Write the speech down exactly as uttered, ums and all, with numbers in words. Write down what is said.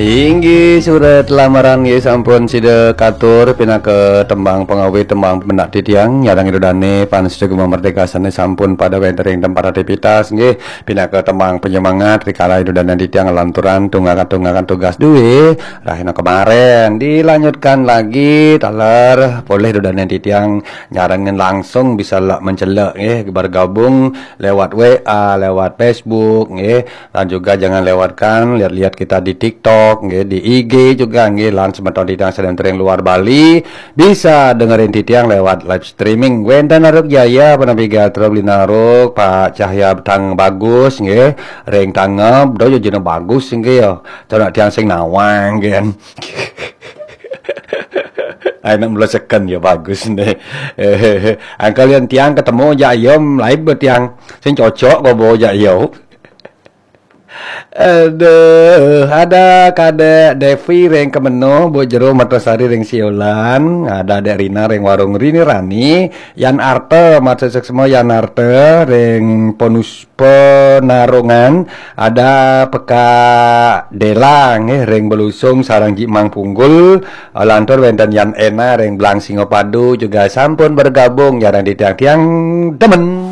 Inggih, surat lamaran nggih sampun sida katur pinaka tembang pangawit, tembang pemenak titiang, nyarengin ida dane pan sida Gema Merdeka sane sampun pada wenten ring tempat aktivitas nggih, pinaka tembang penyemangat rikala ida dane titiang lanturan tunggakan-tunggakan tugas duwe rahina kemaren. Dilanjutkan lagi taler polih ida dane titiang nyarengin langsung bisa la mencelek nggih, bergabung lewat W A, lewat Facebook nggih. Dan juga jangan lewatkan lihat-lihat kita di TikTok nggih, di I G juga nggih, lan semeton titiang sane wenten ring luar Bali bisa dengerin titiang lewat live streaming. Wenten Naruk Jaya, Penapi Gatra, Beli Naruk, Pak Cahya Tang Bagus nggih, ring Tangeb, do jejena bagus nggih ya. Cara tiang sing nawang nggih. Ai nak meleseken ya bagus nih. Angkal yang tiang ketemu jak yom lain be tiang sing cocok bawa jak yo. Aduh, ada Kadek Devi ring Kemeno, Bu Jero Mertasari ring Siolan, ada Dek Rina ring Warung Rini Rani, Yan Arte, maksud semua Yan Arte ring Ponus Penarungan, ada Peka Dela nggih ring Belusung sareng Jimang Punggul, lantur wenten Yan Ena ring Blang Singapadu juga sampun bergabung nyarengin titiang, tiang demen.